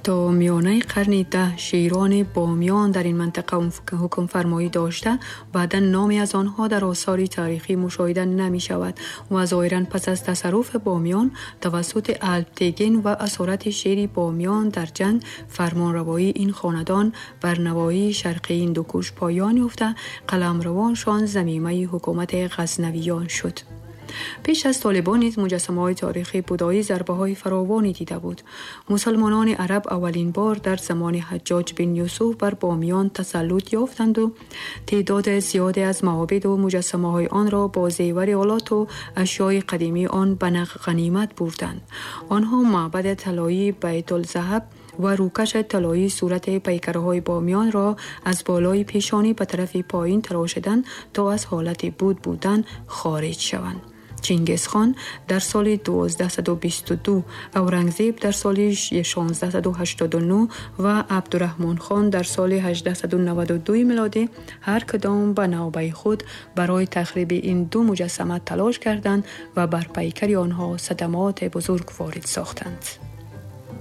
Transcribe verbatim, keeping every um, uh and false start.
تا میانه قرن ده شیران بامیان در این منطقه حکم فرمایی داشته، بعدا نامی از آنها در آثار تاریخی مشاهده نمی شود و ظاهرا پس از تصرف بامیان توسط الپتگین و اسارت شیر بامیان در جنگ، فرمانروایی این خاندان بر نواحی شرقی هندوکش پایان یافته، قلمروانشان ضمیمه حکومت غزنویان شد. پیش از طالبان نیز مجسمه‌های تاریخی بودایی ضربه‌های فراوانی دیده بود. مسلمانان عرب اولین بار در زمان حجاج بن یوسف بر بامیان تسلط یافتند و تعداد زیادی از معابد و مجسمه‌های آن را با زیور آلات و اشیای قدیمی آن به غنیمت بردند. آنها معبد طلایی بیت الذهب و روکش طلایی صورت پیکرهای بامیان را از بالای پیشانی به طرف پایین تراشیدند تا از حالت بود بودن خارج شوند. چنگیز خان در سال دوازده بیست و دو، اورنگزیب در سال شانزده هشتاد و نه و عبدالرحمن خان در سال هجده نود و دو میلادی هر کدام به نوبه خود برای تخریب این دو مجسمه تلاش کردند و بر پیکر آنها صدمات بزرگ وارد ساختند.